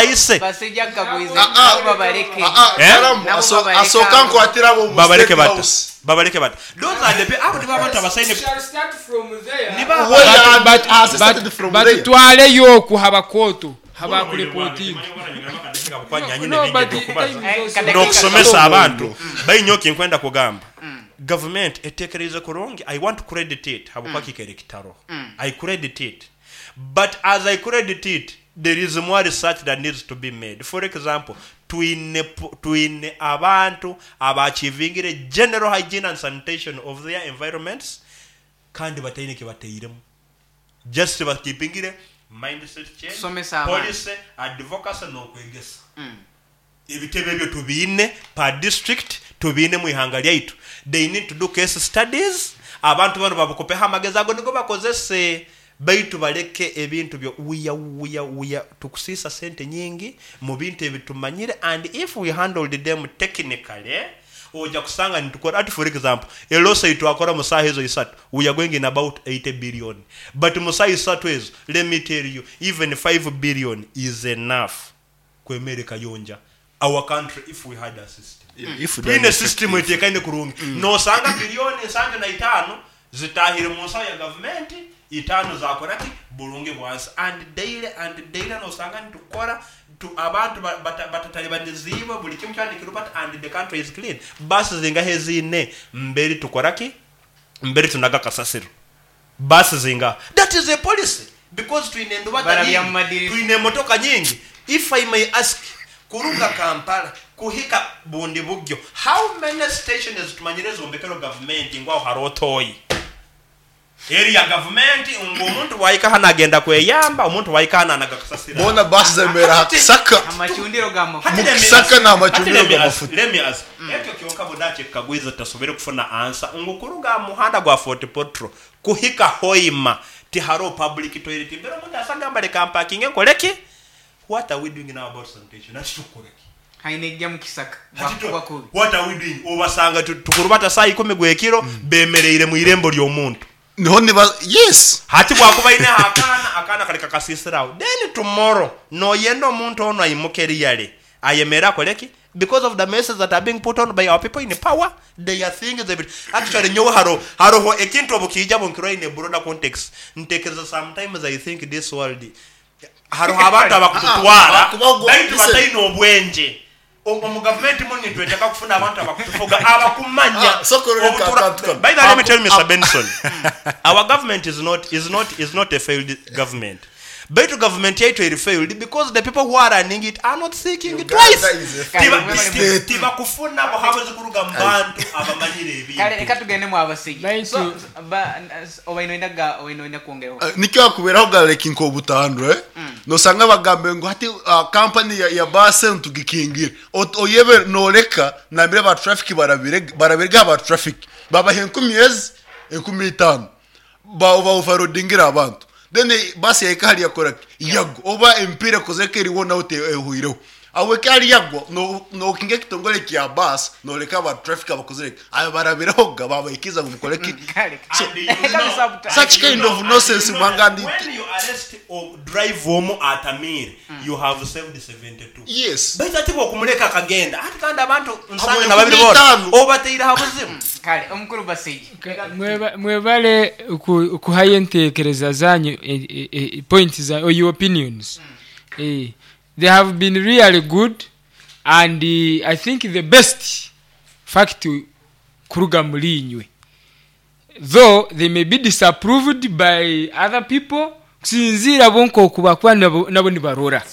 Tubaise. Basajja kagwize Ah, ah. nabo babaleke. Ah, ah, Eh? Karamu, Nabo babaleke asooka abo. nkwatira abo mu Babaleke State bata. House. Babaleke bata. Those are the abo nibo abantu abasaine. Shall start from there. Niba Well, But- has started but- from there. batutwaleyo oku habakoto habakurepotinga. No, but the time is also- N'okusomesa abantu bainyoki nkwenda kugamba gavumenti eteekereize kurungi. I want to credit it habwokuba kikaire kitaro. I credit it, but as I credit it, there is more research that needs to be made. For example, twine abantu abaachivingire general hygiene and sanitation of their environments kandi bataine kibateiremu, just bakipingire mindset change, Tusomesa abantu. policy, advocacy n'okwegesa. Ebitebe ebyo tubiine per district, tubiine mu ihanga lyaitu. They need to do case studies. Abantu bano babukopeho amagezi ago nigo bakozese, baitu baleke ebintu byo uya uya uya. Tukusiisa sente nyingi mu bintu ebitumanyire, and if we handled them technically, ojja kusanga nitukora ati, for example, e loss twakora mu saaha ezo 3, we are going in about 80 billion, but mu saaha 3 ezo, let me tell you, even 5 billion is enough kwemere kayonja our country if we had a system. If we Twine done system eteekaine kurungi, nosanga biliyoni 75 zitahire mu nsawo ya gavumenti, 5 zakora ki bulungi bwansi. And daily and daily nosanga nitukora abantu batatalibanizibwe buli kimu kyandikirubata and the country is clean. Basi zingahe ziine mberi tukora ki mberi tunaga kasasiro? Basi zinga? That is a policy, because twine endubata Barabya nyingi, mu madirisa. twine emotoka nyingi. If I may ask, kuruga Kampala kuhika bundi bugyo, how many stations tumanyire zombekero gavumenti ngwaho hariho toyi eri ya gavumenti ngu omuntu bwahika hano agenda kweyamba, omuntu bwahika hano anaga kasasiro? Bona basi zemera hakisaka. Amacundiro g'amafuta. Hati let me Mukisaka n'amacundiro hati let me ask- g'amafuta. let me ask. Ekyo kyonka bunakikagwiza tasobere kufuna answer ngu kuruga muhanda gwa Fort Potro kuhika Hoima tihariho public toilet mbere omuntu asagamba leka mpakinge nkoleki? What are we doing now about sanitation? Ati tukoreki? Haine ejja mu kisaka. Hati Bakuba kubi. What are we doing? Obasanga tukurubata saa 10 gwekiro bemereire mu irembo ly'omuntu. Niho niba, yes. Hati bwakuba ine akaana, akaana kali kakasisirawo, then tomorrow noyenda omuntu ono ayimuke eriyale ayemere akoleki because of the messes that are being put on by our people in power. They are things that actually nyowe haro haroho ekintu obukija bunkirwa in a broader context. Ntekereza sometimes I think this world haroho abantu abakututwara Ah, ah, baitu listen. bataine obwenje. Omu gavumenti muno nitweteka kufuna abantu abakutufuga abakumanya. Ah, sokoro leka akantu kano. By the way, let me tell you, Mr. Benson, our government is not a failed government. Baitu government yaitu eri failed because the people who are running it are not thinking Uganda twice. is a failed state. Tibakufuna buhabuzi kuruga mu bantu abamanyire Kale ebintu. reka tugende mu abasigi. Baitu- So, obaino enda kwongeraho? Nikyo akuberaho galeki nk'obutandwa, eh? Nosanga bagambe ngu hati kampani ya base ntugikingire. Oyebe noleka nambire ba traffic barabire barabirega ba traffic babaha 1000 ezi 5000 ba overloadingira abantu, then basi yahika hali yakora yagwa oba empira kozeka eriwo nawe ehuireho awe kali yagwa no nokinga ekitongole kya basi noleka ba traffic abakozereka ayo barabirehoga babahikiza ngu mukoleki. Kale. And you Reka know- bisabuta. Such kind of nonsense mwangandi. When you arrest or drive omu atamire, you have saved 72. Baitu ati bwokumuleka akagenda ati kandi abantu nsange Abo na babiri bona 50. obateire ha buzibu. Kale omukuru Basigi. Mwebale okuhayo entekereza zanyu, points za or your opinions. They have been really good and I think the best fact kuruga muri inywe, though they may be disapproved by other people kusinziira bo nkoku bakuba nabo nibarora.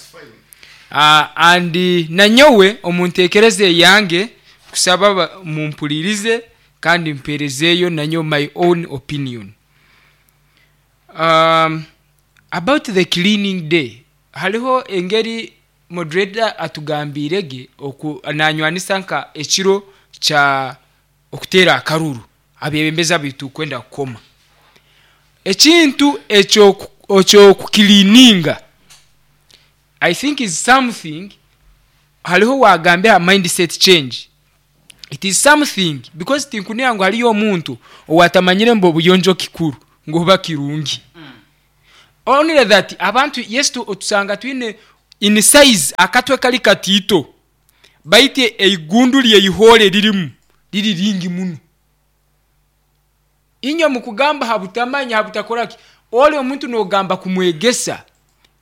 And nanyowe omuntekereza eyange kusaba mumpulirize kandi mperezeeyo nanyo my own opinion about the cleaning day. Hariho engeri moderator atugambirege oku nanywanisa nka ekiro kya okuteera akaruru abebembezi bitu kwenda kukoma ekintu ekyo ekyokukilininga. I think is something hariho wagambe ha mindset change. It is something because tinkunira ngu hariyo omuntu owatamanyire mbu obuyonjo kikuru ngu oba kirungi. Only that abantu yes, tusanga twine In size akatwe kali katiito, baitu eigundu lyeihole lirimu liri lingi muno. Inywe mukugamba habutamanya, habutakoraki, oli omuntu nogamba kumwegesa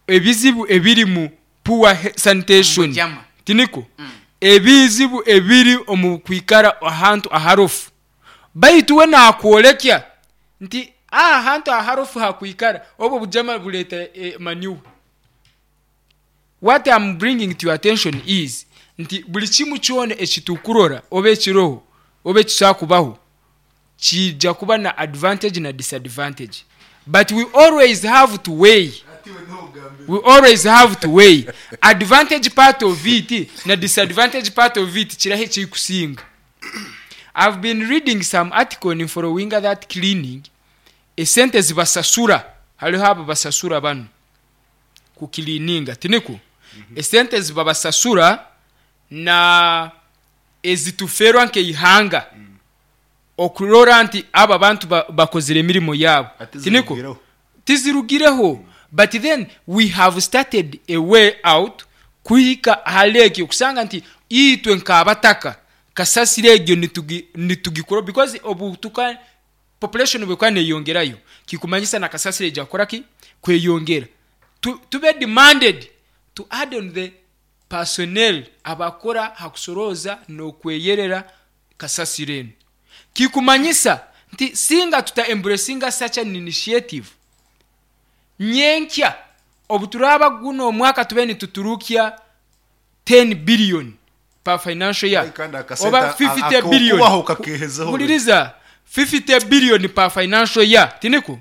ebizibu ebiri mu poor sanitation. Mujama. Tiniko ebizibu ebiri omu kwikara ahantu aharofu, baitu we nakwolekya nti aha hantu aharofu hakwikara obwo bujama buleta manure. What I'm bringing to your attention is nti buli kimu kyona ekitukurora oba ekiroho oba ekisakubaho kijja kuba na advantage na disadvantage, but we always have to weigh, we always have to weigh advantage part of it na disadvantage part of it, kiraho ekikusinga. I've been reading some article in following that cleaning, esente zibasasura, hariho abo basasura bano kukilininga, tiniko esente zibabasasura na ezituferwa nkeihanga okurora nti aba bantu bakozire emirimo yabo, Ate tiniko zirugireho. Tizirugireho, but then we have started a way out kuhika ahali ekyo kusanga nti itwe nk'abataka kasasiro egyo nitugikora, because obu tuka population bwekuba neyongerayo, kikumanyisa na kasasiro ejja kukoraki kweyongera. Tube demanded to add on the personnel abakora hakusoroza n'okweyerera kasasiro eno. Kikumanyisa nti singa tuta embracinga such an initiative, nyenkya obuturaba guno omwaka tube nituturukya 10 billion per financial year, Ai, kandi akasente oba 50 billion. Akubaho kakehezaho. Huliriza, 50 billion per financial year, tiniko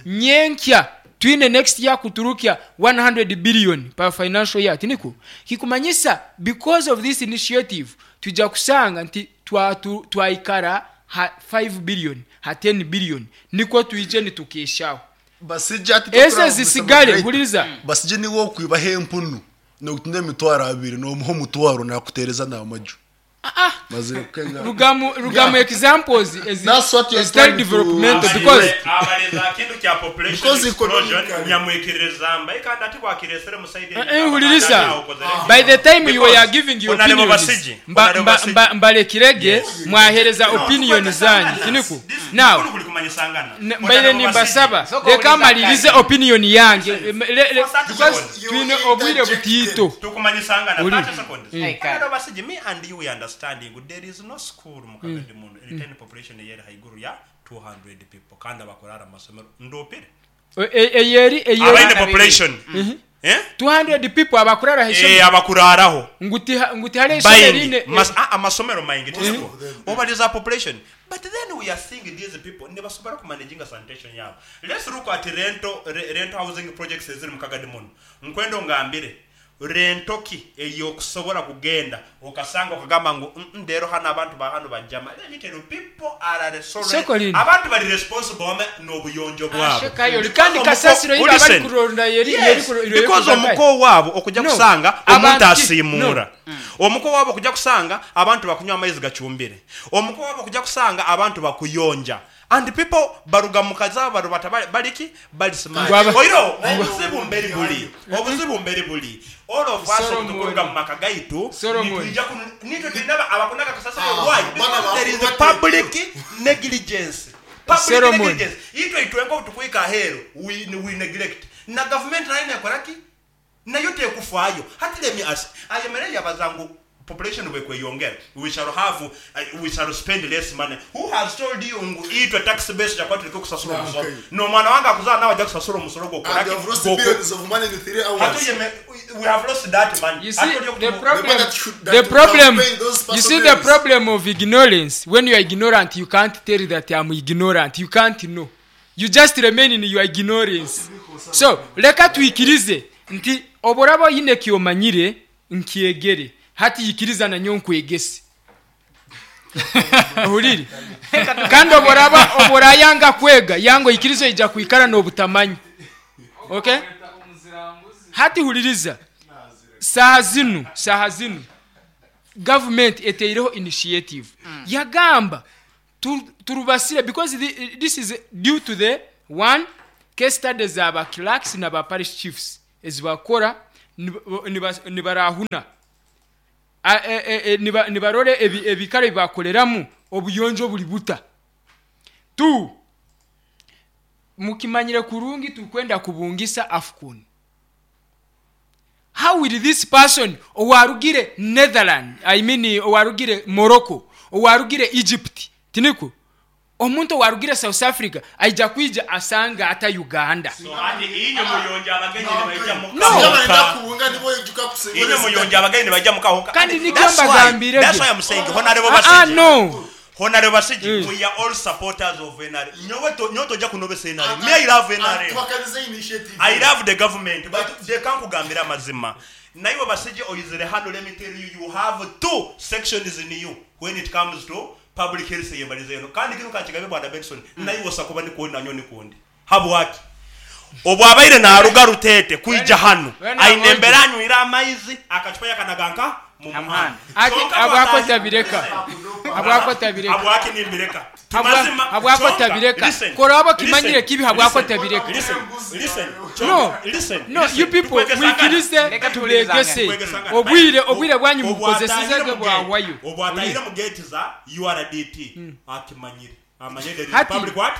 nyenkya twine next year kuturukya 100 billion per financial year, tiniko kikumanyisa because of this initiative tujja kusanga nti twaikara ha 5 billion, ha 10 billion, niko twije nitukeshaho. Basijja ati Ese zisigale, huliriza. Basijje niwe okwibaho empunu nokutunda 20,000 nomuha omutwaro nakutereza n'amaju. Mazire kukenga. Rugamu examples That's what you're ezitali trying to- developmental, because Abaleza kintu kya population Because explosion economically- nyamwikiriza mbaye kandi ati bwakiresere musaidi. Huliriza, by the time you were giving your Honorable opinions, Basigi, Honorable Basigi. mbalekirege mwahereza opinion zanyu, tiniku now mbaire nimbasaba Soko leka uliza malirize kati. opinion yange. Because You twine obwire butiito. Tukumanyisangana. Uli. 30 seconds. Hey, kale. Honorable Basigi, me and you, we understanding there is no school mu Kagadi muno retain population yeri haiguru ya 200 people kandi abakorara mu masomero ndopire Eyeri eyeri abaine population, eh. 200 people abakurara Eh, abakuraraho. Nguti hale ishomero Bayingi ine amasomero maingi, tisiko obaliza population, but then we are seeing these people nebasobola kumanaginga sanitation yabo. Let's look at rental housing projects eziri mu Kagadi muno. Nkwendo ngambire rento ki eyokusobola kugenda okasanga okagamba ngu ndero hano abantu ba hano bajama. Let me tell you, people are Soko lino. abantu bali responsible wame n'obuyonjo bwabo. Ashekayo, kandi kasasiro iri abari Listen. kuronda yeri Yes, yeri yeri because kugagaye. omuko waabo okujja No. kusanga Abantu omuntu asiimuura, omuko waabo okujja kusanga abantu bakunywa amaizi gacumbire, omuko waabo okujja kusanga abantu bakuyonja, and people baruga mu kazi barubata baliki bali smart. Oiro obuzibu mberi buli, obuzibu mberi buli, all of us Solomon. okutukuruga mu maka gaitu Solomon. nitwija nitwe tulina abakunaka kasasiro. Ah, Why? bana Because there is a bakunaka. public negligence, public Solomon. negligence. Itwe itwenga otukwika aheeru, we neglect, na government nayo nekoraki nayo tekufaayo. Hati let me ask, ayemere yabaza ngu population bwekweyongera we shall have, we shall spend less money. Who has told you ngu itwe tax base jakuba tureke okusasula omusolo? Nomwana wange akuzala nawe ajja kusasula omusolo. And you have lost billions of money in 3 hours. Hati we have lost that money. You see Hati the The problem, money that should- that the would problem, have paid those you see the personnels. problem of ignorance. When you are ignorant, you can't tell that I'm ignorant. You can't know. You just remain in your ignorance. So leka tuikirize nti oboraba oyine kyomanyire nkyegere, hati yikiriza nanyo nkwegese ohurire, kandi oboraba oborayanga kwega yango ikirizo ija kwikara n'obutamanyi. Okay, hati huliriza, saha zinu government eteireho initiative yagamba turubasire because this is due to the one case studies aba clerks n'aba parish chiefs ezibakora. Nibarahuna nibarora ebikaro ebibakoreramu obuyonjo buri buta. Tu mukimanyire kurungi tukwenda kubungisa AFCON. How will this person owarugire Netherland, I mean owarugire Morocco, owarugire Egypt, tiniko omuntu owarugire South Africa aija kwija asanga ata Uganda? So ati inyo muyonja abagenyi nibaija No. mukahoka. Kubunga nibo yijuka kusinga. Inyo muyonja abagenyi nibaija mukahoka. Kandi nikyo That's why- mbagambire that's gye. why I'm saying honorable Ah, ah, Basigi, no. Honorable Basigi, we are all supporters of NRM. Nyowe tojja kunobesa NRM. Me, I love NRM. Twakanize initiative. I love the government, but they kankugambira amazima. Naiwe Basigi oyizire hano, let me tell you, you have two sections in you when it comes to public health yembalize eno. Kandi kino kankigabe Bwana Benson, naiwe osakuba nikundi nanyo nikundi. Habwaki? Obwabaire naruga Rutete kwija hano, Wena aine onje. embera anywira amaizi akacupa yakanaganka mu muhanda. Muhanda. Ati Kyonka abwako bwatahi- tabireka. Habwako tabireka. Habwaki nimbireka? Tumazima. Habwako Kyonka, tabireka. listen, Koraba kimanyire listen, kibi habwako listen, tabireka. listen, listen, No. kyonka, listen, No, listen. you people Tukwegesangana. mwikirize Reka tulegese. Tukwegesangana. Obwire bwanyu mubukozeseze Obwatahire mu bwawayo. gate- obwatahire mu gate za URDT akimanyire amanyire there is Hati, public what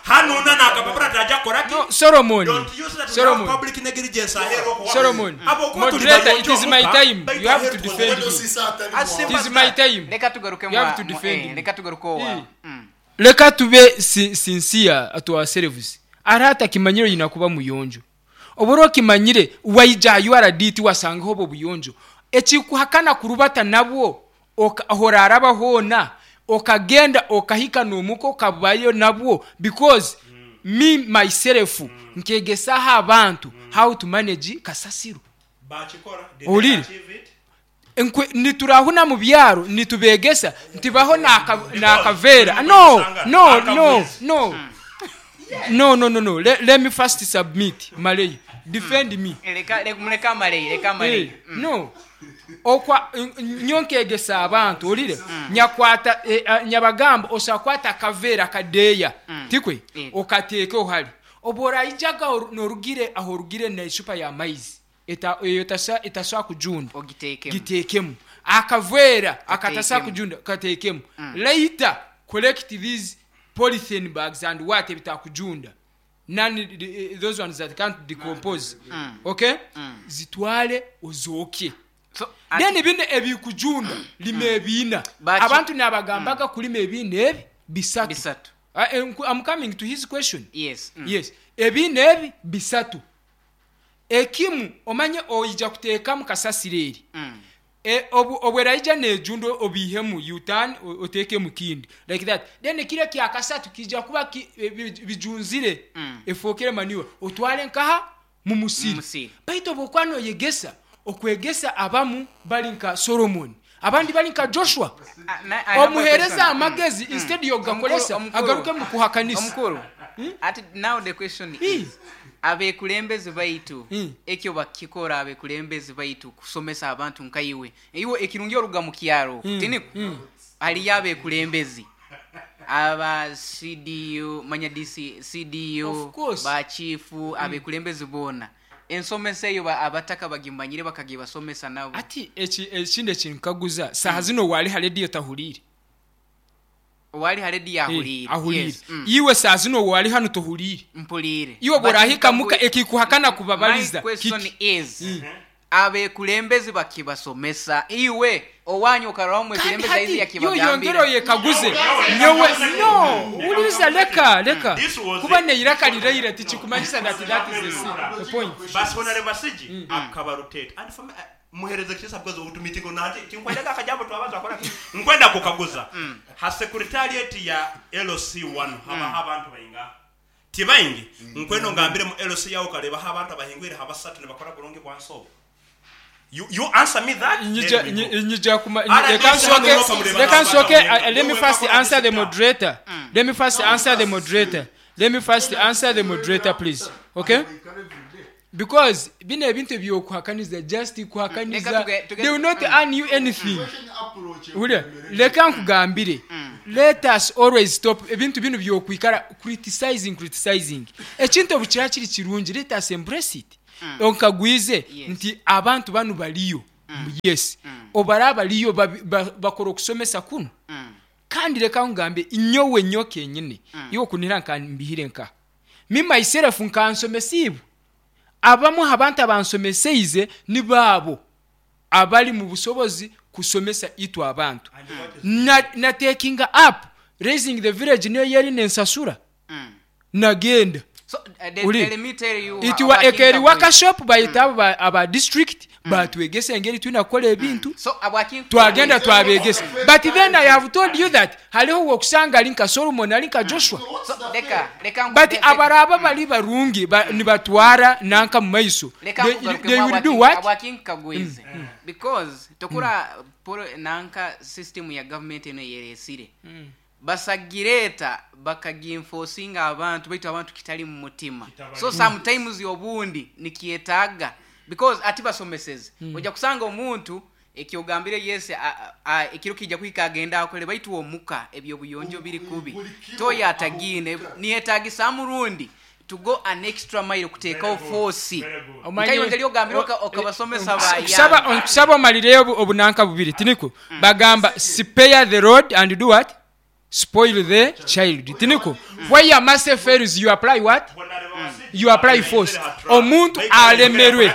hano nakapapura taja koraki. No, Solomon. Don't use that. Solomon. Public negligence ahero okuwa- Solomon. Abo okuba tuli Moderator, bayonjo it is my omuka, time. baitu You have aheru to tukoze- defend me. As simple It is as my that. time. Leka tugaruke You have to defend me. leka tugaruke owa. Eh. Leka tube sincere to ourselves. Ara atakimanyire oyina kuba muyonjo. Obura okimanyire waija URDT wasangaho obwo buyonjo, ekikuhakana kurubata nabwo horaraba hoona okagenda okahika nomuka okabayo nabwo, because me myself nkegesaho abantu how to manage kasasiro. Bakikora. Did they Olire. achieve it? Niturahuna mu byaro nitubegesa ntibaho nakavera. No, no, no, no, no, no, no, no. Let me first submit. Malay, defend me. Leka amaleyi, leka amaleyi. Eh, no, okwa nyonkegesa abantu olire nyakwata nyabagamba osakwata akaveera kadeeya tikwe okateeke ohali obworaijaga norugire aho orugire necupa ya maizi eyo etasobola kujunda. Ogitekemu. Gitekemu akaveera akatasa Kateekemu. kujunda kateekemu. Later collect these polythene bags and what ebitakujunda, none, those ones that can't decompose, okay, zitwale ozooke. So, Then bino ebikujunda lima ebiina. Abantu nabagambaga kulima ebiina ebi bisatu. Bisatu. I'm coming to his question. Yes. Yes, ebiina ebi bisatu, ekimu omanye oija kuteekamu kasasiro eri. Obweraija nejunda obihemu utan oteekemu kindi like that, then kire kyakasatu kija kuba bijunzire efookere manure otwale nkaha mu musiri. Mu musiri. Baitu obwokuba noyegesa okwegesa abamu bali nka Solomon, abandi bali nka Joshua. Ah, I have a Omuhereza question. amagezi instead yogakolesa Omukulu, agaruke mu kuhakanisa. Omukulu, ati now the question is, abekulembeze baitu ekyo bakikora abekulembeze baitu kusomesa abantu nkaiwe iwe ekirungi oruga mu kyaro, tiniku haliyo abekulembezi aba CDU manya DC, CDU. Of course. Bachifu, abekulembezi boona ensomesa eyo abataka bagimanyire bakagibasomesa nabo. Ati ekindi ekinkaguza saha zino wali ha rediyo tahuriire? Wali ha rediyo ahuliire. Ahuliire. Yes. Iwe saha zino wali hano tohuliire? Mpuliire. Iwe But bworahika muka ekikuhakana kubabaliza My question kiki? is, abekulembezi bakibasomesa iwe owanyu okaraho Kandi mwekulembezi aizi hati yo yongera yakibagambira. oyekaguze nyowe no wuliriza, leka leka. This was Kuba it. neiraka liraire tikikumanyisa that that is the point. Basi honorable Basigi akaba rotate and for me, muhereze kisa because utumitingo nati tinkwenda akajambo twabaza akora nkwenda kukaguza ha secretariat ya LC1 haba abantu bainga tibaingi nkweno ngambire mu LC yawo kaleba ha abantu abahingwire habasatu ne bakora bulungi bwansobo. You answer me that, then we go. Nyija kuma Ara leka ndise hano nsoke noka muleba leka n'abantu nsoke abahinga. Let me Wewe first bakora answer the disita. moderator. Let me first answer the moderator. Let me first answer the moderator, please, okay? Because bino ebintu ebyokuhakaniza just kuhakaniza, Leka they will not earn you anything. Wulira, leka nkugambire, let us always stop ebintu bino byokwikara criticizing, criticizing. Ekintu obu kiba kiri kirungi, let us embrace it. Onkagwize Yes. nti abantu banu baliyo. Yes, obaraba baliyo bakora okusomesa kuno. Kandi reka ngambe, nyowe nyo kenyine, iwe kunira nkambihire nka me myself nkansomesibwe. Abamu abantu abansomeseize ni baabo abali mu busobozi kusomesa itwe abantu. Na taking up Raising the Village niyo yeri nensasura, nagenda. So, let me tell you Itiwa Abakinga ekeri boys. Workshop bayita abo aba district batwegesa engeri tulina kukola ebintu. So Abakinga Twagenda twabegesa, but then I have told you that haliho wokusanga ali nka Solomon, ali nka Joshua. So leka But abaraba bali barungi nibatwara nanka mu maiso. Leka They will do what? Abakinkagwize because tokura polo nanka system ya government eno yeresire basagireeta bakagienforcinga abantu, baitu abantu kitali mu mutima. So sometimes obundi nikyetaaga because ati basomeseze, ojja kusanga omuntu ekyogambire yese ekiro kijja kuhika agenda akole, baitu omuka ebyobuyonjo biri kubi, toyo atagine niyetagisa murundi to go an extra mile kuteekawo force. Nkayo ngeri ogambire okabasomesa bayamba. Nkusaba omalireyo obunanka bubiri, tiniko? Bagamba spare the rod and do what? Spoil the child, tiniko? Where your mercy fails, you apply what? You apply force. Omuntu alemerwe.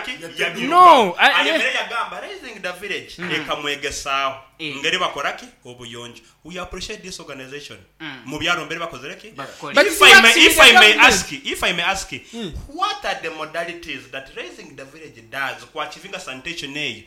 No, Ayemere yagamba Raising the Village ekamwegesaaho ngeri bakoraki obuyonjo. We appreciate this organization mu byalo mbere bakozereki. Bakole. But If I may, it's if I may government. ask, if I may ask, what are the modalities that Raising the Village does ku achieving sanitation eyo?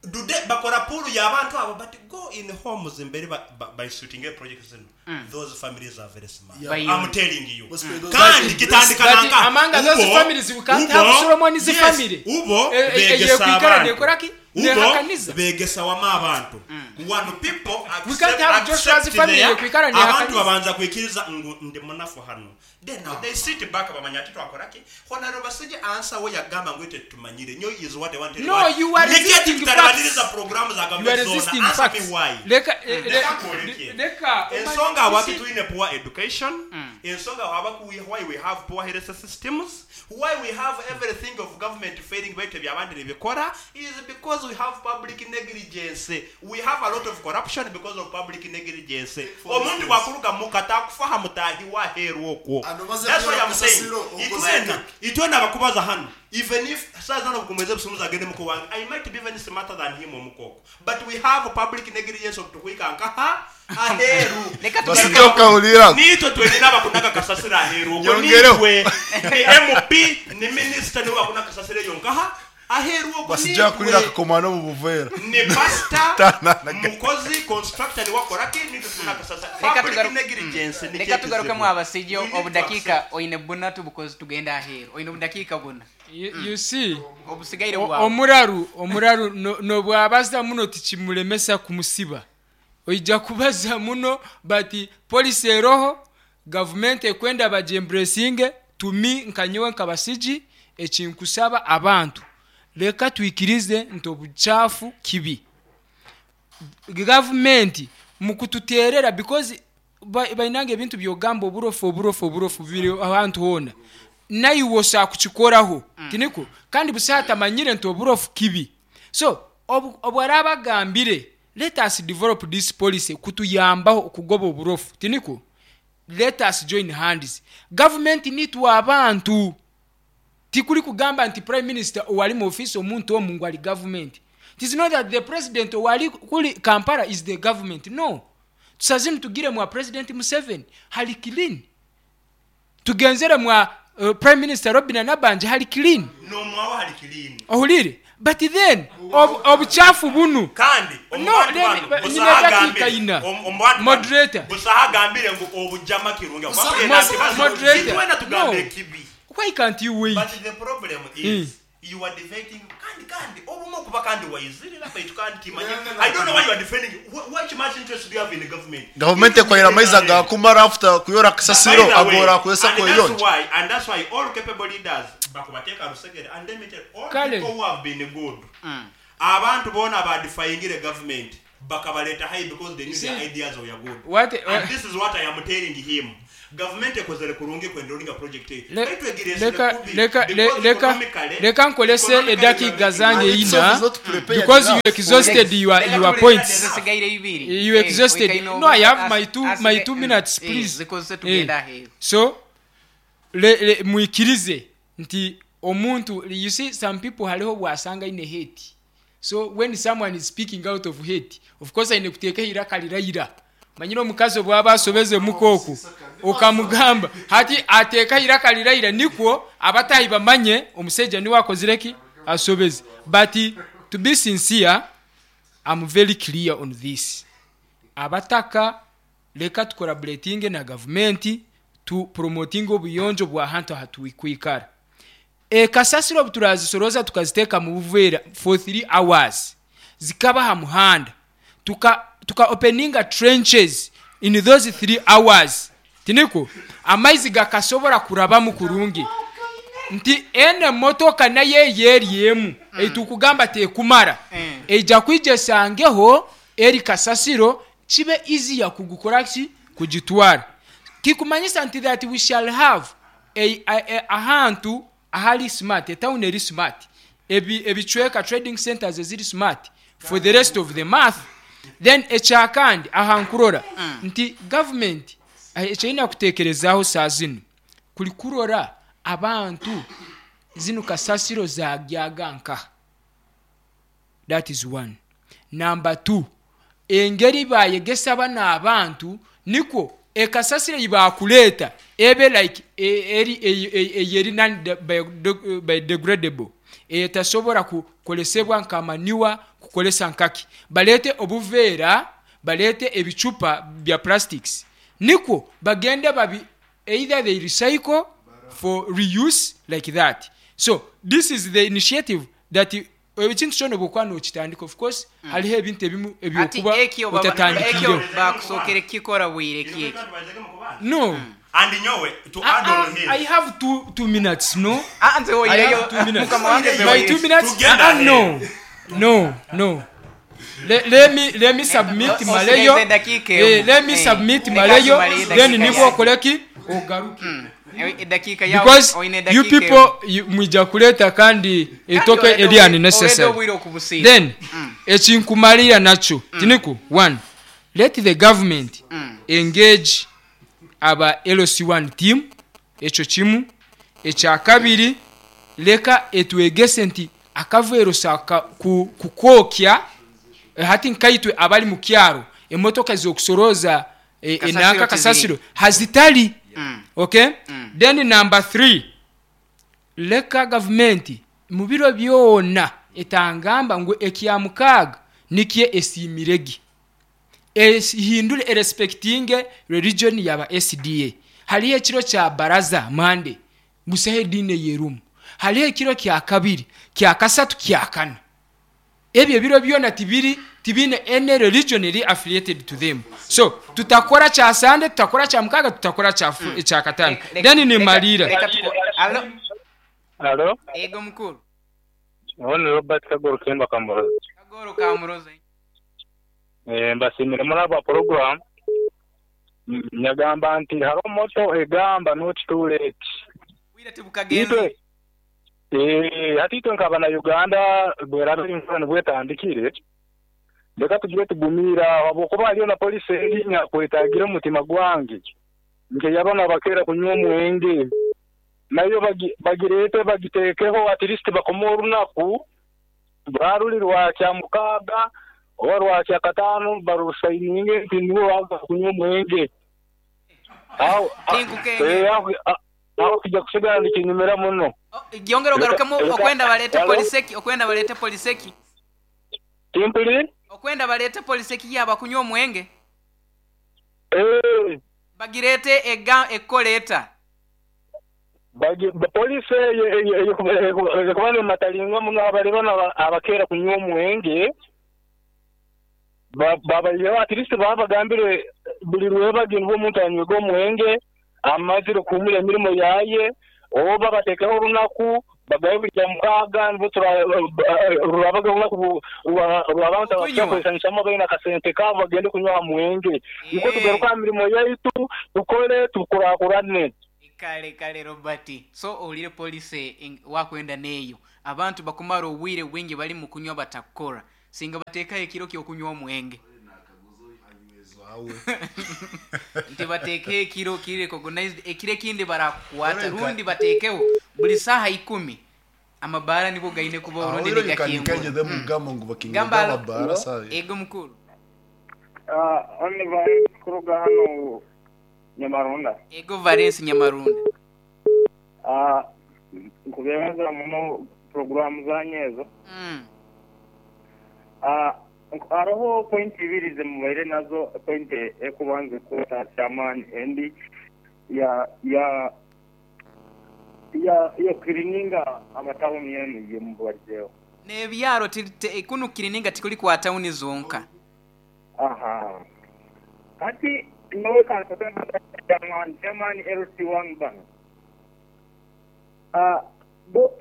Do they bakora pool y'abantu abo? But go in homes mbere ba instituting project zino, those families are very smart. Yeah. I'm telling you. But Kandi kitandika But nanka among those families, we can't have Solomon's family. Ubo begesa yekwikara abantu. nekoraki? Ubo Nehakaniza. begesa wama abantu. One people We can't have Joshua's accept family yekwikara abantu nehakaniza. babanza kwikiriza ngu ndi munafu hano, then now they sit back, bamanya ati twakoraki. Honorable Basije answer we yagamba ngu ite tumanyire nyo is what I wanted. No, you are resisting tutarabaniriza facts. programu za You are government zona. resisting Answer me facts. why. Leka Leka nkuoleke. leka Ensonga waki tulina poor education, ensonga why we have poor health systems, why we have everything of government failing, baitu ebyabandi nebikora, is because we have public negligence. We have a lot of corruption because of public negligence. Omuntu bwakuluga muka takufaha mutahi waheru okwo. Ano maze That's why I'm saying kasasiro, okoze itwena itwena abakubaza hano, even if saa zano bukumeze busumuza agende muko wange, I might be even smarter than him omukoko, but we have public negligence of tukwika nkaha aheru. Leka Basijja tugaruke okawulira. Nitwe twenina abakunaga kasasiro aheru okwo. Nyongereho. Nitwe ni MP ni minister niwe bakuna kasasiro eyo nkaha aheru okwo. Basijja kulira Nitwe akakomano mu buveera. Ni pastor, Tana- mukozi constructor niwe akoraki, nitwe tuna kasasiro. Leka Public negligence ni Leka tugarukemu abasijja We need to obudakiika accept. oine bunatu bukozi tugenda aheeru, oine obudakiika buna. You see, Obusigaire bwawe. Omuraru nobwabaza muno tikimulemesa kumusiba. Oija kubaza muno, but policy eroho gavumenti ekwenda bagyembracinge. Tumi nkanyowe nkabasigi ekinkusaba abantu, leka twikirize nti obucaafu kibi. Gavumenti mukututerera because bainanga ebintu byogamba oburofu oburofu oburofu biri ahantu hoona, naiwe osaa kukikoraho, tiniko? Kandi busa atamanyire nti oburofu kibi. So obwaraba agambire let us develop this policy kutuyambaho okugoba oburofu, tiniko? Let us join hands, government nitwe abantu. Tikuli kugamba nti prime minister owali mu office omuntu omu ngu ali government. It is not that the president owali kuli Kampala is the government, no. Tusazini tugire mwa President Museveni hali clean, tugenzere mwa Prime Minister Robin Nabanja hali clean. Nomwawo hali clean. Ohulire, but then obuchafu bunu. Kandi No, omubantu bano, nyina dakiika ina. Moderator. Busaha agambire ngu obujama kirungi. Moderator. Itwena tugambe No. kibi. Why can't you wait? But the problem is you are debating kandi obumu okuba kandi waizirira baitu kandi timanye. I don't know why you are defending. What much interest do you have in the government? Gavumenti ekwahira amaizi agakumara after kuyora kasasiro By the way, agora akozesa and that's kweyonja. why and that's why all capable leaders bakubateeka rusegere and let me tell you, all Kale. people who have been good, abantu bona badefyingire government. Bakabaleta high because they knew See, their ideas were good. What And this is what I am telling him. Government ekozere kurungi kwendolinga project eyo. Baitu egiresere kubi, because Leka nkolese economically edakiika we are zange making Itself ina is not prepared because you enough. exhausted your points. Zisigaire ibiri. You exhausted. No, I have my 2 minutes, please. Zikozese tugenda aheeru. So mwikirize nti omuntu, you see, some people hariho bwasanga ine hate. So when someone is speaking out of hate, of course aine kuteeka iraka lirayira. Manyire omukazi obwaba asobeze mukooku okamugamba hati ateeka iraka lirayira nikwo abatahi bamanye omusajja niwe akozireki asobeze. But to be sincere, I'm very clear on this. Abataka, leka tucollaboratinge na gavumenti tu promoting obuyonjo bwa hantu hatukwikara. Kasasiro obu turazisoroza tukaziteeka mu buveera for 3 hours, zikaba ha muhanda, tuka openinga trenches in those 3 hours, tiniko amaizi gakasobora kurabamu kurungi nti ene motoka naye yeryemu eitukugamba tekumara eija kwija esangeho eri kasasiro kibe easier kugukora ki kugitwara. Kikumanyisa nti that we shall have ahantu ahali smart, etown eri smart, ebicweka trading centers eziri smart for the rest of the month. Then ekyakandi ahankurora nti government ekyerina kutekerezaho saa zinu kuli kurora abantu zinu kasasiro zagyaga nkaha. That is one. Number two, engeri bayegesa bano abantu nikwo ekasasiro yibakuleeta ebe like eri eyeri non biodegradable, etasobora kukolesebwa nka manure, kukolesa nkaki. Balete obuveera, balete ebicupa bya plastics nikwo bagende babi either they recycle for reuse like that. So this is the initiative that ekintu kyona bwokuba nokitandika, of course hariho ebintu ebimu Ati ebyokuba ekyo otatandikireho. Ekyo bakusookere kukikora bwire ki ekyo? No. And nyowe to add on his. I have 2 minutes, no? Ah, nze I woyireyo have 2 minutes. mukama wange nze My woyireyo. 2 minutes. Tugenda No, no, no. Let me submit Osigaze maleyo. eddakiika emu. Let me submit Leka maleyo. asimale eddakiika Then nibwo yange. okoleki ogaruke. Eddakiika yawe Because oyina you eddakiika people you, mwija kuleta kandi etoke Kandi eri oleta unnecessary. obwire okubusiira. Then ekinkumalira nakyo tiniku one, let the government engage aba LC1 team. Ekyo kimu. Ekyakabiri, leka etwegese nti akaveero saka kukwokya hati nkaitwe abali mu kyaro emotoka zokusoroza Kasasiro enanka tiziri. Kasasiro hazitali. Okay, then number three, leka gavumenti mu biro byona etangamba ngu ekyamukaaga nikye esiimirege, ehindure erespectinge religion yaba SDA. Hariho ekiro kya baraza mande busaho ediini eyerumu, hariho ekiro kya kabiri, kya kasatu, kya kana. Ebyo ebiro byona tibiri tibine any religion eri affiliated to them. So tutakora kya Sande, tutakora kya mukaga, tutakora kya kya katano. Then nimalira. Alo? Alo, Ego mukuru. uwo ni Robert Kagoro Kemba Kamuroza. Kagoro Kamuroza. Mbasimire muri aba program. Nyagamba nti hariho motto egamba not too late. Bwire tibukagenze. Itwe hati itwe nk'abana Uganda bweraba enkurano bwetandikire, leka tugire tugumira habwokuba hariyo na polisi erinya kwetagira omutima gwange nkeyabana bakeera kunywa omwenge nayo bagirete bagitekeho at least bakome orunaku bwaruli rwakya mukaaga oba rwakya kataano barusayininge nti nibo baza kunywa omwenge aho Tinkukenge. Aho kijja kusigala nikinyumira muno. Gyongera ogarukemu. Okwenda balete Hello? poliseki, okwenda balete poliseki. Timpuli. Okwenda balete poliseki yaba kunywa omwenge. Bagirete ega ekoleta. Polisi ekuba nematalinga muno abali bano abakeera kunywa omwenge babayireho at least babagambire buli lwebagi nibwo omuntu anywega omwenge amazire kuhumura emirimo yaye oba batekeho olunaku. Bagaye buli kya mukaaga nibwo rurabaga olunaku rw'abantu Okunywa. abakwesanyusamu baine akasente kaabo bagende kunywa aha mwenge. Nikwo tugaruke aha mirimo yaitu tukore tukurakurane. Kale kale Robert, so owulire policy wakwenda neeyo abantu bakumara obwire bwingi bali mu kunywa batakukora, singa bateekaho ekiro ky'okunywa omwenge. Nti bateekeho ekiro kiri recognized, ekiro ekindi barakukwata rundi bateekeho buli saaha 10 amabaara nibo gaine kuba orundi nigakingura. Mugamba ngu bakingura Gamba amabaara saa Ego mukuru. Oni Valens kuruga hano Nyamarunda. Ego Valens Nyamarunda. Nkubebaza muno programu zanyu ezo. Hariho point ibiri zemubaire nazo, point ekubanza kuta chairman endi ya ya ya ya kirininga amatawuni yenu yemubalizeho. N'ebyaro kunu kirininga tikuli kwa tawuni zonka. Aha. Kati nowe kansobe chairman chairman LC1 bano. Bo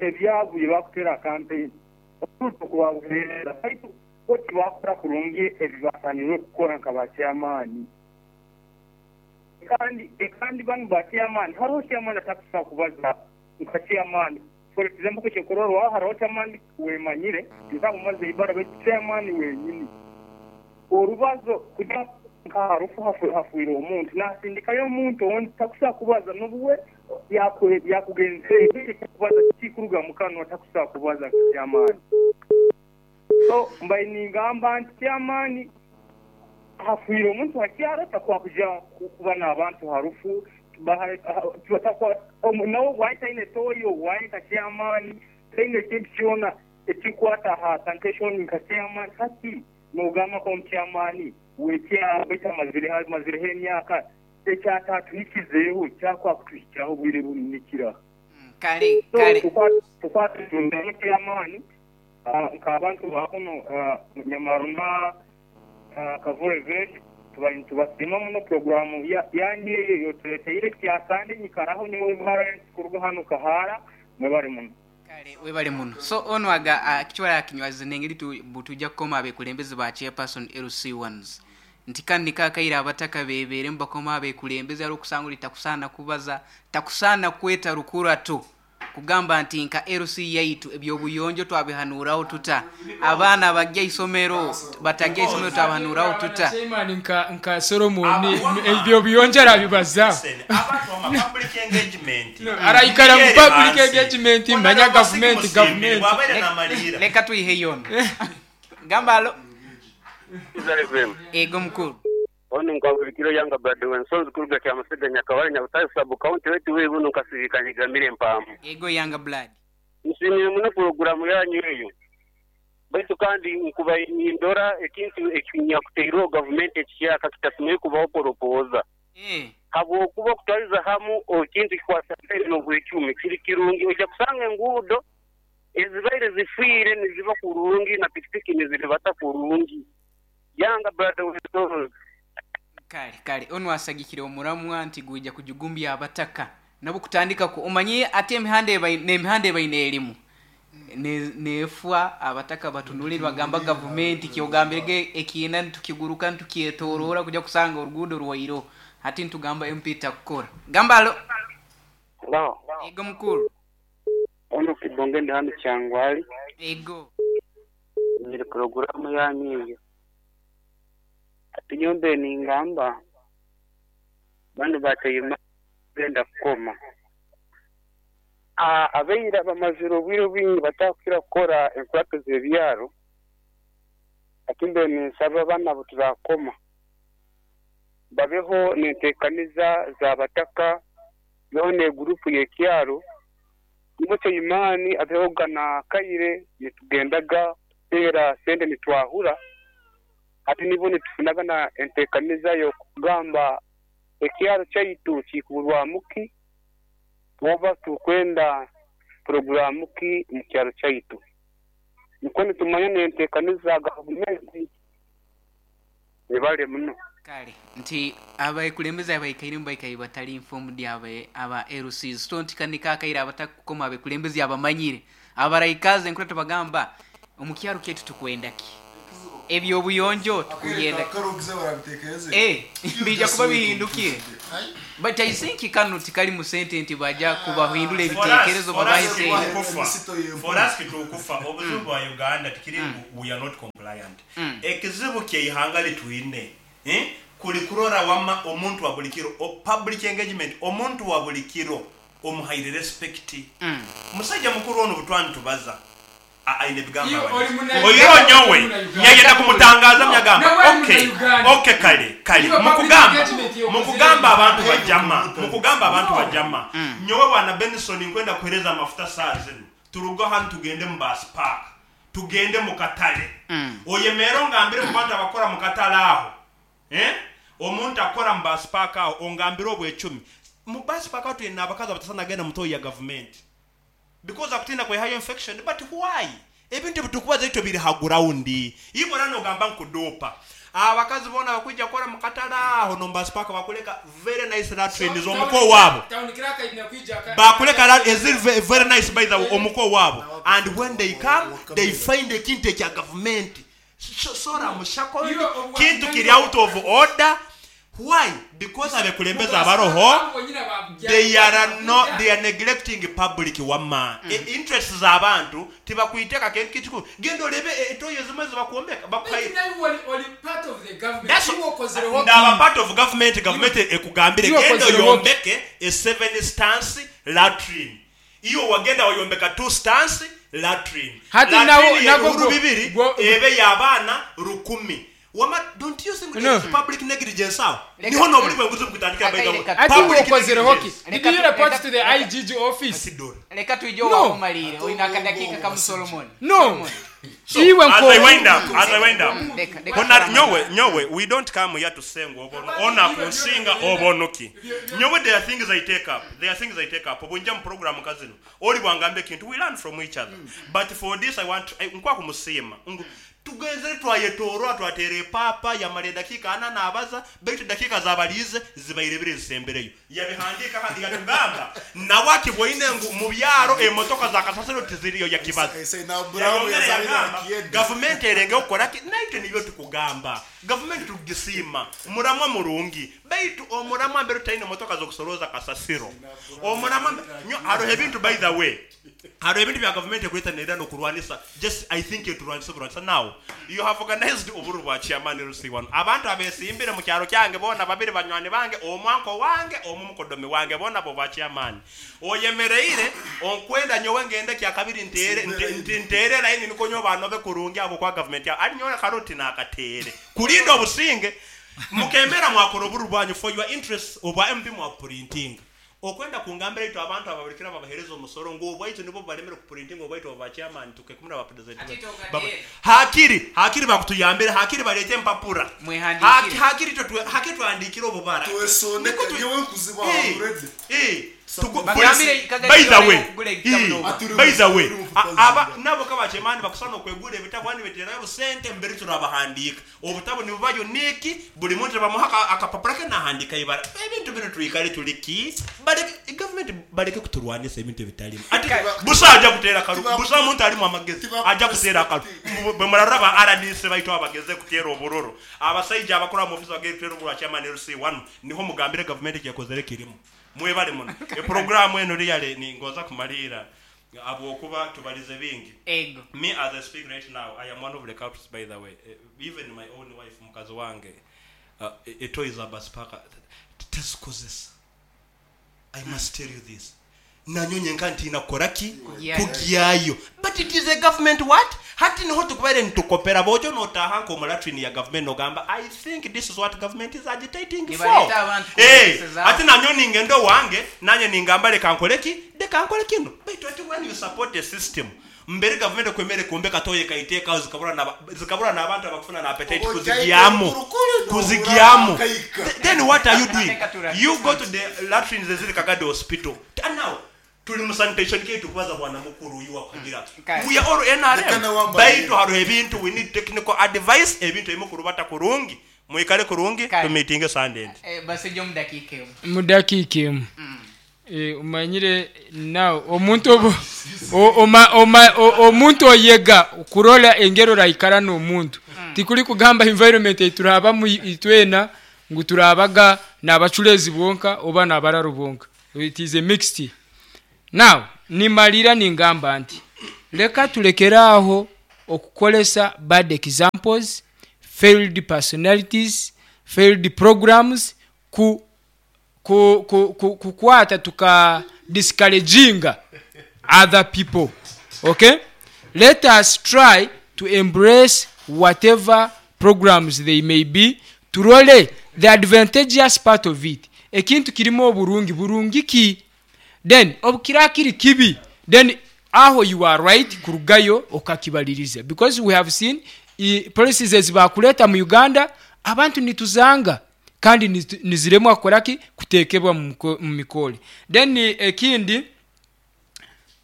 ebyabu byebakutera campaign okubabuhereza baitu bo tibakora kurungi ebibasanirwe kukora nka ba chairman. Kandi bano ba chairman hariho chairman atakusobola kubaza nka chairman. For example, kyekororwa hariho chairman wemanyire ntamumaze ibara baitu chairman wenyini orubazo kuja nka harufu hafuire omuntu nasindikayo omuntu ondi takusobola kubaza n'obuwe yakugenzere kubaza kikuruga mukanwa takusobola kubaza nka chairman. So mbaye ningamba nti chairman hafuire omuntu hakyaro takwakuja kuba n'abantu harufu nawe waitaine toyo waita chairman taine ekintu kyona ekikwata aha sanitation nka chairman. Hati nogamba ko chairman wekyaro mazireho emyaka ekyatatuhikizeeho kyakwakutuhikyaho obwire bunikira. Kale kale tukwatutundemu chairman nk'abantu bakuno Nyamarunda Kavule village tubasiima muno programu yange eyo yotuleteire kyasande nyikaraho niwe Valens kuruga hano Kahara mwebale muno. Kale webale muno. So ono aga kichwala akinywazi nengeri tujja kukoma abekulembeze ba chairperson LC1s nti kandi kakaira abataka bebere mbakoma abekulembeze ari okusangula takusana kubaza takusana kweta rukurato kugamba nti nka LC yaitu ebyobuyonjo twabihanuraho tuta abaana bajja isomero batajja isomero twabihanuraho tuta. Chairman nka Solomon ebyobuyonjo arabibaza. Abantu ama public engagement. Araikara mu public engagement manya government government. Leka tuihe yona. Gamba alo. Ego mukuru. Ono nkwabulikiro yanga brother wensonzi kuruga kya Masega Nyakabale Nyabutare sub county wetu wewe buno nkasirikanye mpamu. Ego yanga blood. Nsimire muno programu yanyu eyo. Baitu kandi nkuba indora ekintu ekinyakuteirwe government ekikyaka kitasimire kubaho poropoza. Habwokuba okutwaliza hamu ekintu kikwasabire n'obwecumi kiri kirungi ojja kusanga enguudo ezibaire zifiire niziba kurungi na pikipiki niziribata kurungi. Yanga brother wensonzi. Kale kale ono asagikire omuramwa nti guija kujugumbya abataka nabo kutandika ku omanye ate emihanda n'emihanda ebaine erimu nefwa abataka batunulirwa bagamba government kyogambirege ekiina ntukiguruka ntukyetorora kujja kusanga oruguudo rwairo hati ntugamba MP takukora. Gamba alo. Hello. Ego mukuru. Ono kibonge ndi hano Kyangwali. Ego. Nyiri programu yanyu eyo. Ati ningamba bano bateyima genda kukoma. Abeira bamazire obwire bwingi batakukira kukora enkurato z'ebyaro. Ati mbe ninsaba bana bo tubakoma babeho nenteekaniza z'abataka beho ne gurupu y'ekyaro nibo Kyeyimani abeho gana kaire nitugendaga tera sente nitwahura. Ati nibo nitufunaga na enteekaniza y'okugamba ekyaro kyaitu kikuburwamuki oba tukwenda programu ki mu kyaro kyaitu. Niko nitumanya n'enteekaniza gavumenti ebale muno. Kale nti abakulembeze abaikairemu baikaire batali informed aba LCs. So nti kanika akaire abatakukoma abakulembeze abamanyire abaraikaze enkura tubagamba omu kyaro kyaitu tukwenda ki, ebyobuyonjo tukugenda bija kuba bihindukire. But I think kano tikali mu sente nti baja kubahindura ebitekerezo babahe sente. For us kitukufa obuzibu bwa Uganda tikiri ngu we are not compliant. Ekizibu kyeihanga litwine kuli kurora wama omuntu wa buli kiro, public engagement, omuntu wa buli kiro omuhaire respect. Musajja mukuru ono butwani tubaza aine ebigambo oyiro nyowe nyagenda kumutangaza myagamba okay kale mukugamba abantu bajama, mukugamba abantu bajama. Nyowe bwana Benson nkwenda kuhereza amafuta saa zino, turuga hano tugende mu bus park, tugende mu katale. Oyemero ngambire mu bantu abakora mu katale aho, omuntu akora mu bus park aho ongambire obwecumi mu bus park aho tulina abakazi abatasana genda mutoyi ya government because akutinda kwehayo infection. But why ebintu bitukubaza itwe biri ha ground ibona nogamba nkudopa abakazi bona bakwijja kora mu katale aho no bus park bakuleka very nice latrines omuko wabo bakuleka is very nice by the way omuko wabo, and when they come they find ekintu ekya government sora mushako kintu kiri out of order. Why? Because abekulembeza abaroho they are neglecting public wama interests z'abantu tibakuiteka kintu gendo lebe etoyo zimwe zibakuombeka part of the government. Ndaba part of government ekugambire gendo yombeke a 7 stance latrine, iyo wagenda wayombeka 2 stance latrine hati nawo bibiri ebe y'abaana 10,000. Wama, don't you think no. Public negligence awo? Niho no buli bwenguzi bukutandika by the way. Public negligence. Did you report to the IGG office? Leka tuijo wa kumalire. Oina akadakika kama Solomon. No. So, as I wind up. Hona nyowe we don't come here to say obono. Ona kunsinga obonoki. Nyowe there are things I take up. There are things I take up. Obunja mu program kazino. Oli bwangambe kintu we learn from each other. But for this I want nkwa kumusima. Tugenzere twayetorwa twatere papa yamale dakika ana nabaza baitu dakika zabalize zibayirebere zisembereyo yabihandika handi yatugamba nawaki bwoine ngu mu byaro emotoka za kasasiro tiziriyo yakibaza government erenge okora ki naite niyo tukugamba government tugisima muramwa murungi baitu omuramwa mbere taine motoka zo kusoroza kasasiro omuramwa nyo aro ebintu by the way aro ebintu bya government ekweta nera no kurwanisa just I think it turwanisa now you have organized oburu bwa chairman LC1 abantu abesimbire mu kyaro kyange bona babiri banywani bange omwanko wange omumukodomi wange bona bo ba chairman oyemereire onkwenda nyowe ngende kya kabiri ntere ntere line niko nyo banobe kurungi abo kwa government ya ali nyowe karoti na akatere kulinda obusinge mukemera mwakora oburu bwanyu for your interests obwa MP mwa printing okwenda kungambira ito abantu ababulikira babahereza omusoro ngo obwaitu nibo balemera ku printing obwaitu ba chairman tukekumira ba president hakiri bakutuyambira hakiri balete empapura hakiri hakiri twandikira obubara nyowe kuziba already by the way aba nabo kaba chairman bakusana okwegura ebitabo ani beterayo busente mbere turabahandika obutabo nibuba unique buli muntu bamuha akapapura ke nahandika ibara ebintu bino tuikale tuliki baleke government baleke kuturwanisa ebintu ebitalimu ati busa aja kutera kalu busa muntu alimu amagezi aja kutera kalu bwe RDC baito abageze kutera oburoro abasajja abakora mu office bagere kutera oburoro chairman LC1 niho mugambire government yakozere kirimu mwebale muno e programu eno liyale ni ngoza kumalira abo okuba tubalize bingi. Ego. Me as I speak right now I am one of the culprits by the way. Even my own wife mukazi wange etoyiza basipaka tesikozesa. I must tell you this. Nanyonye nkanti inakoraki kugyayo. But it is a government what? Hati niho tukubere ntukopera bojo notaha nko mulatrini ya government nogamba I think this is what government is agitating for. Ati nanyoni ngendo wange nanye ningamba leka nkoleki deka nkole kino. But when you support the system mbere government kwemere kumbe katoye kaiteka zikabura na abantu abakufuna na appetite kuzigiamu. Then what are you doing? You go to the latrines eziri Kagadi hospital. And now tuli mu sanitation ketu kubaza bwana mukuru uyu wakugira. We are all NRM. Baitu haro ebintu we need technical advice ebintu emukuru bata kurungi. Mwikale kurungi, tumitinge Sunday endi. Basijja omu dakiika emu. Mu dakiika emu. Omanyire now omuntu obu oma, oma, omuntu oyega kurora engeri oraikara n'omuntu. Tikuri kugamba environment eiturabamu itwena ngu turabaga n'abaculeezi bonka oba n'abararo bonka. It is a mixed. Now nimalira ningamba nti leka tulekere aho okukoresa bad examples, failed personalities, failed programs ku ku ku ku kukwata tuka discouraginga other people. Okay, let us try to embrace whatever programs they may be, turole the advantageous part of it. Ekintu kirimu oburungi, burungi ki? Then obukira kiri kibi, then aho you are right kurugayo okakibaliriza, because we have seen policies ezibakuleta mu Uganda, abantu nituzanga kandi niziremwa kukoraki, kutekebwa mu mikole. Then ekindi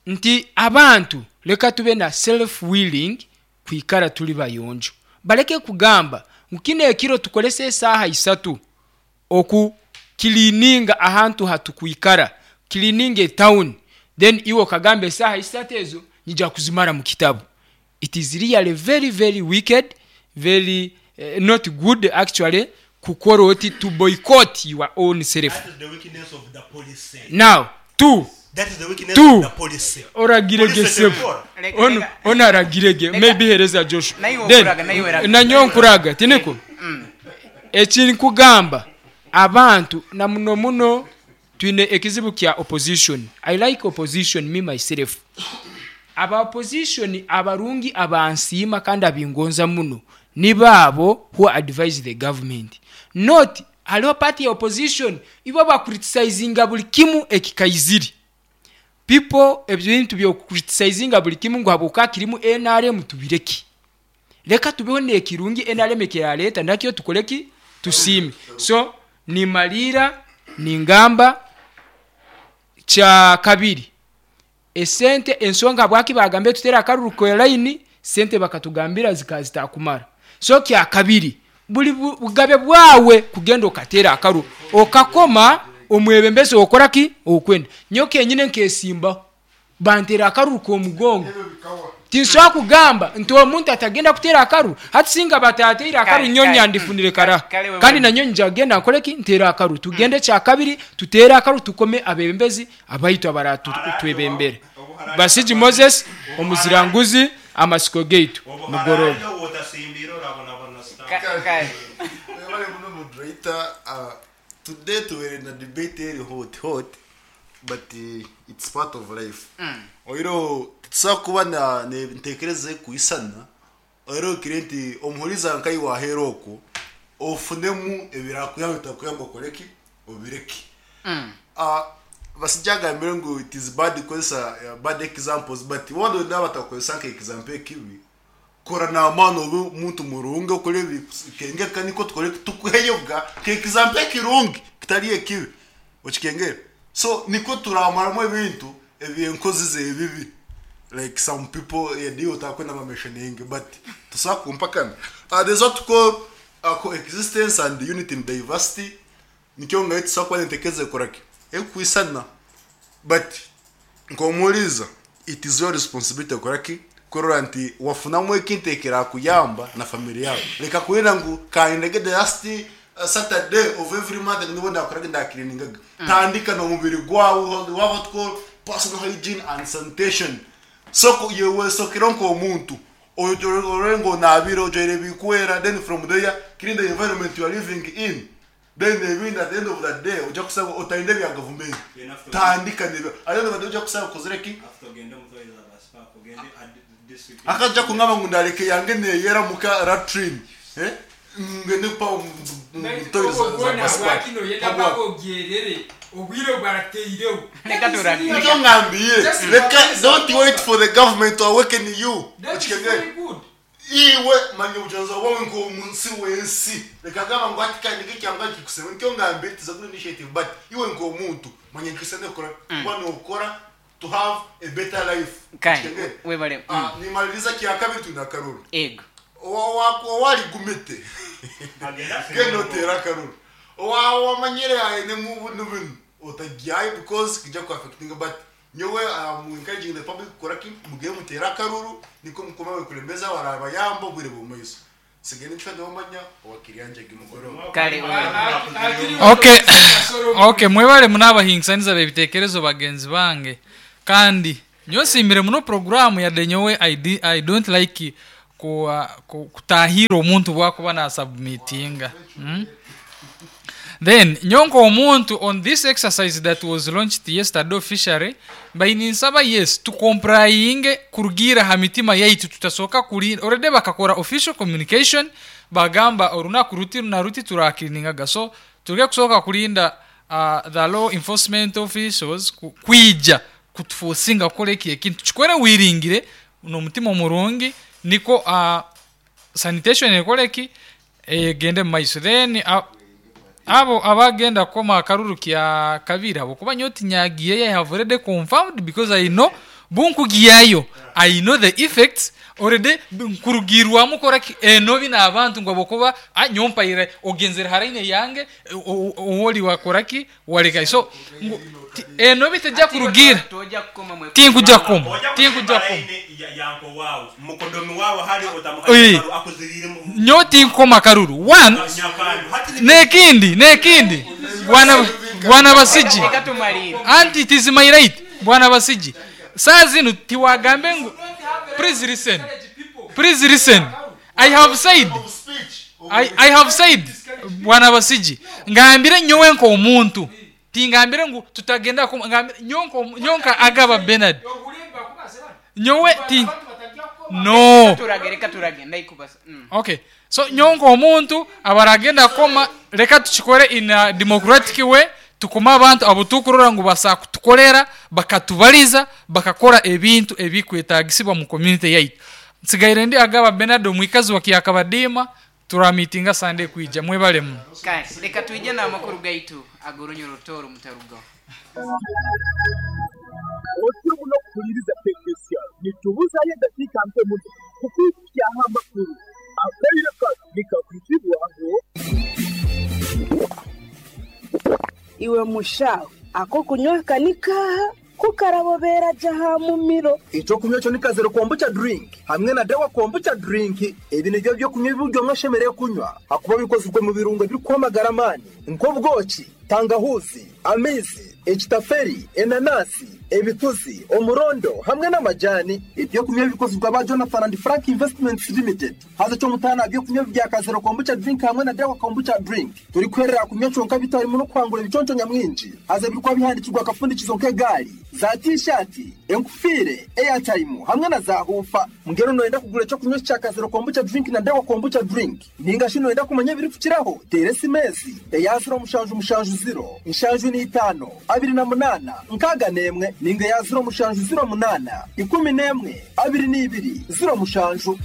nti abantu leka tube na self willing kwikara tuli bayonjo. Baleke kugamba ngu kino ekiro tukolese esaaha 3 oku kilininga ahantu hatukwikara, kilininga etown, then iwe okagamba esaaha 3 ezo nyija kuzimara mu kitabu. It is really very very wicked, very not good actually, kukora oti to boycott your own self. That is the weakness of the policy. Now, two. That is the weakness Two. of the policy. Oragirege Policy sebu. tekukora. Leka, Ono, ono aragirege. Leka. Maybe hereza Joshua. Naiwe Then, okuraga, naiwe raga. nanyo nkuraga, tiniko? Ekinkugamba abantu na muno muno twine ekizibu kya opposition. I like opposition me myself. Aba opposition abarungi abansiima kandi abingonza muno ni baabo who advise the government. Not haliho party ya opposition ibo bacriticinga buli kimu ekikaiziri. People ebintu byo criticizing buli kimu ngu habuka kirimu NRM tubireki. Leka tubeho nekirungi NRM kiraleta nakyo tukoleki tusime. So nimalira ningamba kya kabiri esente ensonga bwaki bagambe tutera akaruru ko line sente bakatugambira zikazitakumara. So kya kabiri buli bugabe bwawe kugenda okatera akaru okakoma omwebembezi okora ki okwenda nyoke nyine nkesimba bantera akaru ko mugongo. Tinsobola kugamba nti omuntu atagenda kutera akaru hati singa batatera akaru nyonya ndifunire kara kandi na nyonyi njagenda nkole ki ntera akaru tugende kya kabiri tutera akaru tukome abebembezi abayitwa baratu twebembere. Basiji Moses omuziranguzi amasiko gate mugoroba. Today we are in a debate area hot but it's part of life. Oiro tusakuba na ntekereze kuisana oiro kirenti omuhuriza nkai wa heroko ofunemu ebirakuya bitakuyamba koleki obireki. Basijaga mbere it is bad because bad examples but wando ndabatakozesa nka example kibi kora na mano muntu murunge okore kenge kaniko tukore tukuheyoga ke example kirungi kitari ekibi okikengera. So niko turamaramo ebintu ebyenkozi zebibi like some people yedio takwenda mentioning but tusakumpakana. There's what to call coexistence and unity in diversity nikyo ngai tusakwa ntekeze koraki ekwisana but nkomuliza it is your responsibility koraki korora nti wafunamwe ekintekera kuyamba na family yawe leka kuenda ngu kaindege the last Saturday of every month nibo ndakoraga ndakiriningaga tandika no mubiri gwawe what call personal hygiene and sanitation. So yewe sokironko omuntu oyorengo nabiro ojoire bikwera then from there clean the environment you are living in then they win at the end of the day oja kusaba otainde bya government tandika nibe at the end of the day oja kusaba kozereki akaja kungaba ngo ndareke yange neyera muka latrine ngende pa don't wait for the government to awaken you. Iwe manye ujanza wawe ngo munsi wensi reka gamba ngo ati kandi kyangwa kikusema nikyo ngambiye it is a good initiative but iwe ngo muntu manye kisende kora bwana ukora to have a better life. Webale nimaliza kia kabiri tunakaruru ego wali gumete Genda oteere akaruru. Owaaba wamanyire ainemu binu binu otagyayo because kija ku affectinga, but nyowe am encouraging the public kukora ki? Mugende muteere akaruru nikwo mukome abekulembezi abarabayamba obwire bw'omumaiso. Nsigaire nincwa niwamanya owa Kiryanjagi mugoroba. Kale. Okay, okay, mwebale muno abahingisaniza b'ebitekerezo bagenzi bange. Kandi nyowe nsiimire muno programu, yadde nyowe I don't like kutahirra omuntu bwakuba nasubmitinga. Then nyowe nk'omuntu, on this exercise that was launched yesterday officially, mbaire ninsaba, yes, tucomplyinge kurugiira ha mitima yaitu. Tutasoka kulinda already bakakora official communication, bagamba orunaku ruti na ruti turacleaningaga. So tuleke kusoka kulinda the law enforcement officials kwija kutuforcinga kukora eki ekintu. Tukikore wiringire n'omutima omurungi, niko sanitation ekore ki, egende mu maiso. Then abo abagenda kukoma akaruru kya kabiri, habwokuba nyowe tinyagiyeyo, I have already confirmed, because I know bunkugyayo, I know the effects already nkurugirwamu kora ki enobi n'abantu ngu habwokuba nyowe mpaire ogenzere haraine yange, owoli wakora ki waleka. So ngu enobi tejja kurugira. Tojja kukoma mwe. Tinkujja kukoma, tinkujja kukoma. Yanko wawe, mukodomi wawe hali. Otamuha akuziriire. Nyowe tinkukoma karuru one. Nyakandu hati. Nekindi, bwana Basigi. Reka tumalire. Anti it is my right, bwana Basigi. Saa zinu tiwagambe ngu, please listen, please listen, I have said, I have said, bwana Basigi, ngambire nyowe nk'omuntu, tingambire ngu tutagenda ngambire nyowe nka Agaba Benard, nyowe ti no. Turage, reka turage ndaikubasa. Okay, so nyowe nk'omuntu abaragenda kukoma, reka tukikore in a democratic way. Tukoma abantu abo tukurora ngu basa kutukorera, bakatubaliza, bakakora ebintu ebikwetagisibwa mu community yaitu. Nsigaire ndi Agaba Benard, omwikazi wa Kyakabadiima. Turamitinga Sunday kwija. Mwebale muno. Kale, reka twije n'amakuru gaitu ag'orunyoro Toro mutarugaho. Otyo muno kuhuliriza Tekesya, nitubuzayo eddakiika nke muno kukwikyaho amakulu. Akaire kano nikakwitibwaho. Iwe mushaho, ako kunywa kanikaha kukarabobera jaha mumiro. Ekyokunywa ekyo ni Kazero Kombucha drink hamwe na Dawa Kombucha drink. Ebi nibyo byokunywa ebi omwe ashemereire kunywa, hakuba bikozirwe mu birungo ebirikuhamagara amaani nk'obwoki, tangahuzi, amaizi, ekitaferi, enanasi, ebituzi, omurondo hamwe n'amajani. Ebyokunywa bikozirwe aba Jonathan and Frank Investments Limited. Haza kyomutaana byokunywa bya Kazero Kombucha drink hamwe na Dawa Kombucha drink turi kwerera kunywa kyonka bitarimu no kwangura ebiconco nyamwingi. Haza birikuba bihandikirwa akafundikizo nk'egaari, za tishati, enkufiire, airtime hamwe na za hufa. Mbwenu noyenda kugura ekyokunywa kya Kazero Kombucha drink na Dawa Kombucha drink, ninga shi noyenda kumanya ebirikukiraho, teera esimesi eya 0770 75 28 61, ninga eya 0708 11 22 07.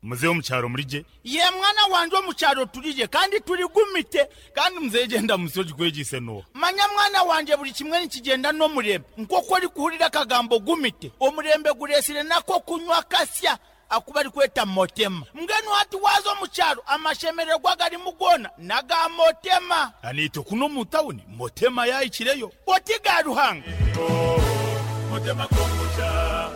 Muzehe wo mu cyaro muri je. Ye mwana wanje, wo mu cyaro turije kandi turi gumite kandi. Muzehe, genda musoji kwegise no. Manya mwana wanje, buri kimwe nikigenda n'omurembe. Nk'oku ori kuhurira akagambo gumite, omurembe guresire nako kunywa kasya akuba ari kweta Motema. Mbwenu hati waza omu cyaro, amashemererwa garimu gona naga Motema. Anito kuno mu tawuni Motema yayikireyo. Oti ga Ruhanga. Motema Kombucha,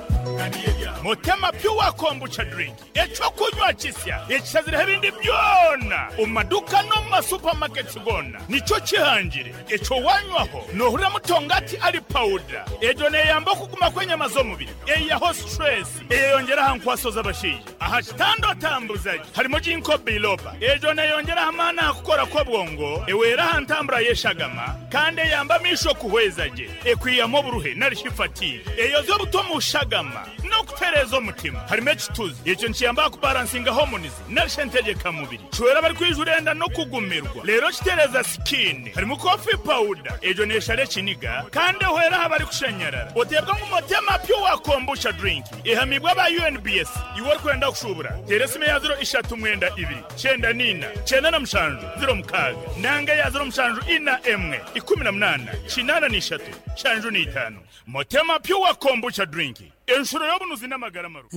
Motema Pure Kombucha drink, ekyo kunywa kisya ekisazireho ebindi byona omu maduka no mu masupamaketi gona. Nicyo kihangire ekyo wanywaho nohurira mutongati ari powder. Egyo neyamba okuguma kw'enyama z'omubiri, eyaho stress, eyeyongeraho nkwaso z'abashaija aha kitanda otambuzaje. Harimo ginkgo biloba, egyo neyongeraho amaani aha kukora kw'obwongo, ewera aha ntambura y'eshagama kandi eyamba amisho kuhweza gye, ekwiyamu oburuhe nari fatigue, eyoza obuto mu shagama no kutereza omutima. Harimo ekituzi, ekyo nikiyamba kubalancinga hormones nari mubiri, kiwera bari kwijurenda no kugumirwa rero kitereza skin. Harimo coffee powder, egyo neshara ekiniga kandi ehwera aha bari kushanyarara. Otebwa ngu Motema Pure Kombucha drink ehamibwa aba UNBS. Iwe orikwenda kushubura, tera esimu ya 039 94 97 06, nanga ya 0741 18 83 75. Motema Pure Kombucha drink, enshuro y'obunuzi n'amagara maru.